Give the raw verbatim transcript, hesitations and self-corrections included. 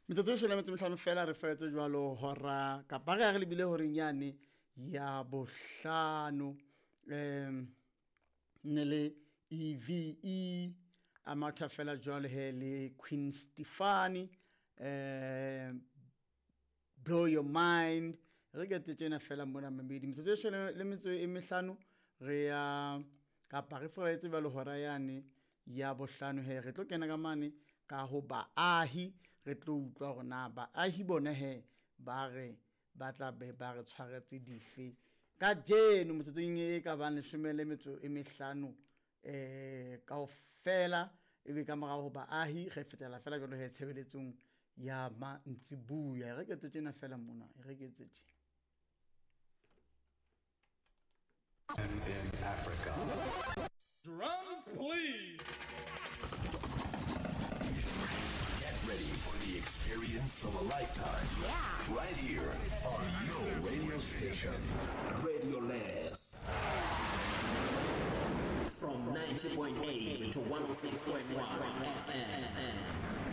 Metsotso e leshome le metso e mehlano fela re fetse jwalo hora kapa re ya re lebile horeng yane ya bohlano. Um ne le E V E a matha fela jwalo he le Queen Stefani, um Blow Your Mind. Re ke tjena fela mona mamedi. Metsotso e leshome le metso e mehlano re ya kapa re furaletse jwalo hora yane ya bohlano he re tlo kena ka mane ka ho baahi, re tlo utlwa hore na baahi bona he ba re ba tla be ba re tshwaretse dife kajeno metsotsong e ka bang leshome le metso e mehlano eh kaofela. Ebe ka morao ho baahi re fetela fela jwalo he tshebeletsong ya mantsibuya. Re ke tjena fela mona, re ke tje. In Africa. Drums, please. Get ready for the experience of a lifetime. Yeah. Right here on your radio station. Radio Less. From ninety point eight to one oh six point one F M.